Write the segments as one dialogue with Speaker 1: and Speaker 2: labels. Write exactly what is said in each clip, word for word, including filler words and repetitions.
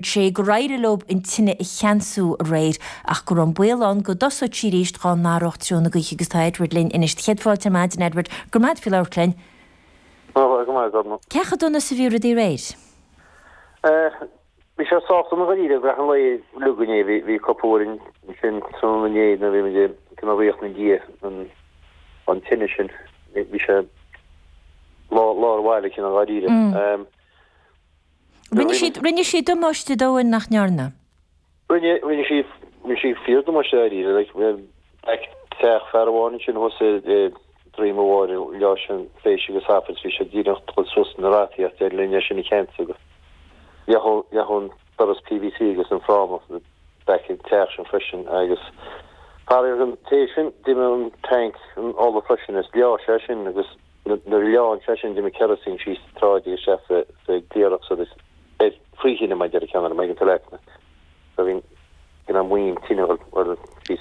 Speaker 1: sé gur éirigh leo an tine a cheansú aréir ach go raibh an baol ann go dtosódh sí arís dá n-athródh treo na gaoithe agus tá Edward linn anois. Céad fáilte ar maidin Edward gur maid fi leir linn. Cé chomh dona is a bhí rudaí aréir?
Speaker 2: Bhí sé sách dona dáiríre an lae lugané bhí cúpla uair sin san inné na bhí go ríocht na dia an tine sin bhí sé lá lá bhhaile cin an gáiríre.
Speaker 1: Rinne siad rinne siad damáiste dóin nach ndearna.
Speaker 2: Rinne rinne sí rinne sí fíor damáiste dáiríre teach fear amháin sin thuas Droim a Mháire le sin féis agus hafid bhí sé díreach chun suas na rataíocht ar linne sin i ceint agus leath doras PVC agus an fráma back an teach sin freisin agus Par an té sin d'imigh an tank an ola freisin is leá sé sin agus na leán sé sin d'imigh kerosene síos tráid agus sé sa gcléireach so ar fríhíine mai deir ceann mai go leitna. So bhí gin an muin tine sí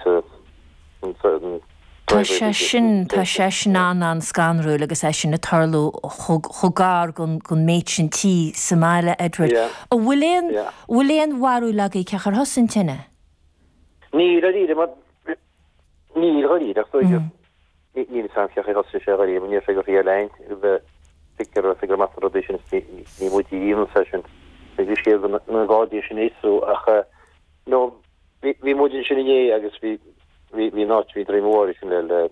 Speaker 1: Tá sé sin tá sé sin an an scanrúil agus é sin ag tarlú chomh gar gon gon méid sin tí sa mbaile Edward. A bhfuil aon bhfuil aon bharúil agaibh cé chur thos an tine?
Speaker 2: Ní rí mar ní rí ní sam ce sé sé rí ní sé go rí lein figur figur mat rud sin ní mu díon session bhí sé na gádaí sin éú ach no bhí muid sin inné agus bhí bhí bhí náit bhí Droim Mháire sin le le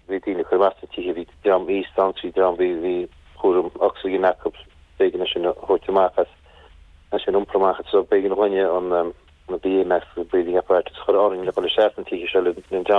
Speaker 2: bhí daoine chur amach na tithe bhí dream aosta bhí dream bhí bhí cúram oxygen acu b'éigean sin a thabhairt amach as as sin iompar amach so b'éigean dhuine an na BMF breathing apparatus chur orainn le go isteach an tithe seo le dream